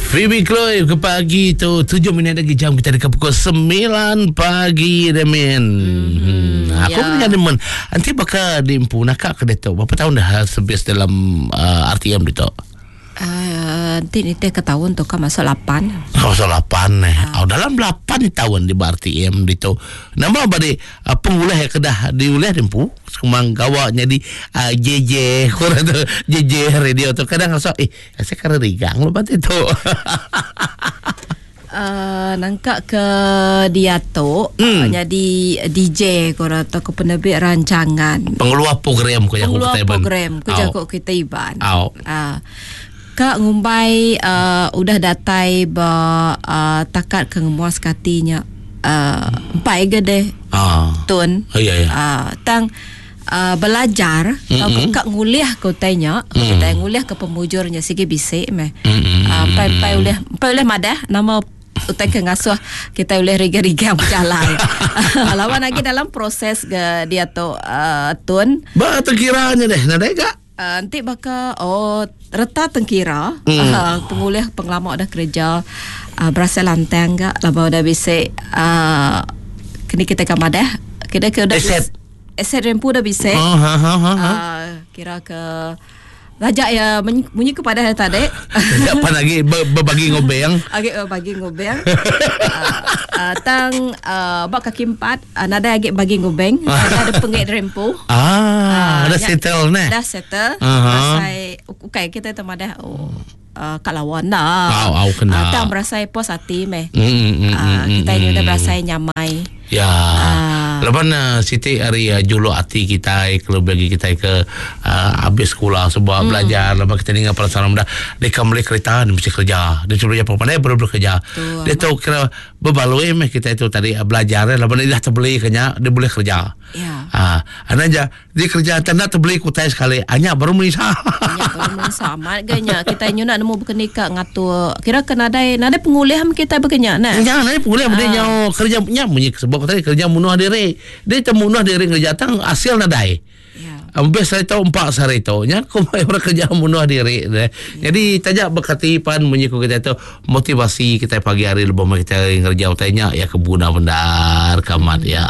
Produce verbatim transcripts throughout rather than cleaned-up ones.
Phoebe Chloe ke pagi tu tujuh minit lagi jam kita dekat pukul sembilan pagi Demin. Mm-hmm. Hmm. Aku yeah. dengan men nanti bakal diempu nakak ke detok. Berapa tahun dah sebis dalam uh, R T M detok? Uh, nanti ni teh ke tahun tu kan masuk lapan. Masuk lapan eh. Uh. Oh, dalam lapan tahun di R T M itu. Nama bade uh, pengulih yang kedah diulih dempu semang gawa jadi uh, J J kurang tu J J radio tu kadang rasa eh saya kira rigang lepas itu. Uh, nangkak ke dia tu hmm. uh, jadi D J korang atau ke penerbit rancangan pengeluar program ko pengeluar program ko jago kita iban. Uh, Kak ngumbai uh, udah datai ba uh, takat ke ngemuas katinya uh, empai ge deh ah. Tun oh, iya, iya. Uh, tang uh, belajar mm-hmm. Kak nguliah ke utainya mm. Utai nguliah ke pemujurnya sigi bisik meh mm-hmm. uh, empai empai ulih empai ulih madah nama utai ke ngasuh kita ulih riga-riga berjalan. Lawan lagi dalam proses ke dia tu uh, tun. Ba terkiranya deh nadai gak? Uh, nanti baka oh reta tengkira mm. uh, pengulih pengelama dah kerja uh, berasa lantang gak laba dah bisa uh, kini kita kamar dah kira ke dah aset aset rempu dah bisa oh, ha, ha, ha, ha. Uh, kira ke rajak ya bunyi kepada tadi apa lagi berbagi ngobeng lagi berbagi ngobeng uh, uh, tang uh, bak kaki empat uh, nada lagi bagi ngobeng ada ada pengit rempu ah uh, dah settle nah dah settle uh-huh. Berasai okey kita temadah oh uh, kat lawan dah au au kena uh, tang berasai puas hati meh mm, mm, uh, kita mm, ini dah berasai nyamai ya. Uh. Lepas uh, Siti hari uh, juluk hati kita kalau bagi kita ke uh, habis sekolah sebuah hmm. belajar lepas kita dengar perasaan muda dia kan beli kereta dia mesti kerja dia cuma apa pandai baru bekerja dia tahu kira berbaloi meh kita itu tadi uh, belajar lepas dia dah terbeli kenya dia boleh kerja ya ah uh, aja dia kerja tak terbeli kutai sekali hanya baru menisah hanya baru menisah amat ganya kita nyu nak nemu berkenika ngatur kira kena ada nada pengulihan kita berkenya nah ya nada pengulihan uh. dia kerja nya bunyi sebab tadi kerja munuh diri dia termunuh diri kerja tang hasil nadai ya ambes saya tahu empat sehari tu nya aku mai orang kerja munuh diri deh. Ya. Jadi tajak berkati pan munyi ku kita tu motivasi kita pagi hari lebih kita kerja utainya ya kebuna bendar kamat ya.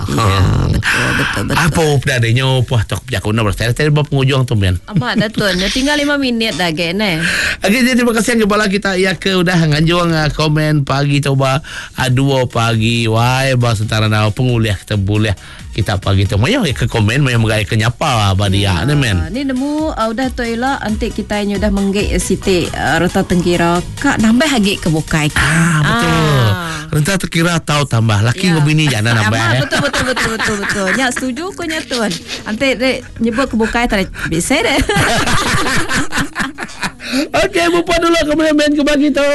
Ya, betul betul betul. Apa dah adanya puah tok jakuna berasa tadi bab penghujung tu men. Amat dah tuan, tinggal lima minit dah ge ne. Okey, jadi terima kasih kepada kita ya ke udah nganjuang komen pagi coba dua pagi wai bahasa tentara penguliah kita boleh kita pagi tu mayo ke komen mayo megai ke nyapa ba dia ni men. Ni nemu uh, udah tu ila antik kita ni udah menggek siti uh, reta tengkira kak nambah lagi ke bukai. Ah betul. Ah. Reta terkira tahu tambah laki ya. Ngobini jangan nambah. Ya. Betul betul betul betul betul. Nya setuju ko nya tuan. Antik dek nyebut ke bukai tak bisa deh. Okey, bupa dulu kemudian main ke bagi tu.